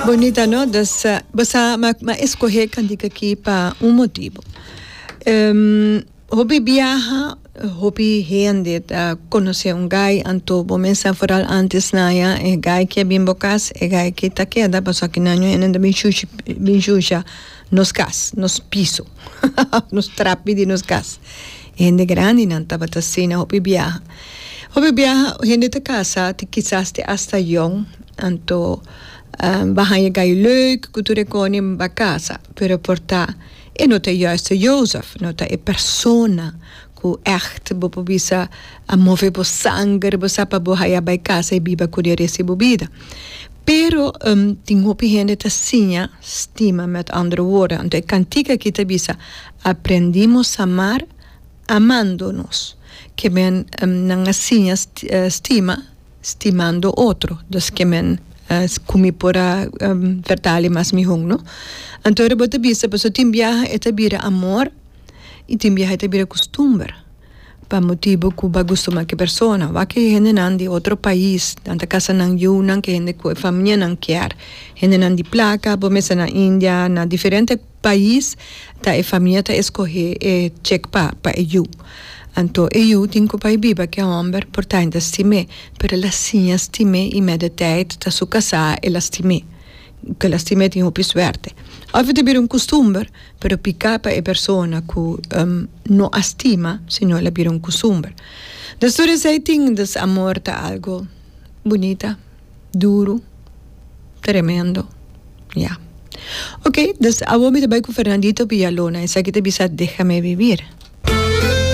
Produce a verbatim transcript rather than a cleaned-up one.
Bunita, no? Dus, uh, bo sa, m'a, m'a skohe e kantika aki pa un motibu. Um, hopi biaha, hopi hende ta konosé un guy, anto bo mesa vooral antes na ya, e guy ku bin bo kas, e guy ku ta keda, paso aki na nyo bin shusha, bin shusha nos kas, nos piso, nos trapi di nos kas. Hende grandi nan tabata asina hopi biaha. Hopi biaha, hende ta kasa, te kisas te hasta jong, anto um, bo haña guy leuk, ku tur e kos, b'a kasa, pero por ta e no ta juiste Jozef, no ta e persona ku echt bo por bisa a move bo sanger, bo sa pa bo haya bai kasa i biba ku e resto bo bida. Pero um, tin hopi hende ta siña stima, met andere woorden. Anto e kantika aki ta bisa: "Aprendimos a amar amándonos." Ke men um, nan a siña stima stimando otro. Dus ke men uh, ku mi por a um, vertalen mas mihó, no? Anto bo ta bisa, paso tin biaha e ta bira amor i tin biaha e ta bira kustumber. Pa motibu ku b'a gusta ku persona. Wak e hendenan di otro pais, nan ta kasa nan yunan ku hende ku famianan kier. Hendenan di plaka, bo mesa na India, na diferente pais, ta e famia ta skohe e chick pa pa e yu. Anto e yu tin ku bai biba ku e hòmber, por ta ainda stim'é, pero el a siña stim'é i met de tijd ta su kasá el a stim'é. Ku el a stim'é tin hopi suerte. Of e bira un kustumber, pero piká pa e persona ku um, no a stima, sino el a bira un kustumber. Dus tur esei tin, dus amor ta algu bunita, duru, tremendo. Ja. Ok, dus awor mi ta bai ku Fernandito Villalona, esaki ta bisa "Déjame vivir".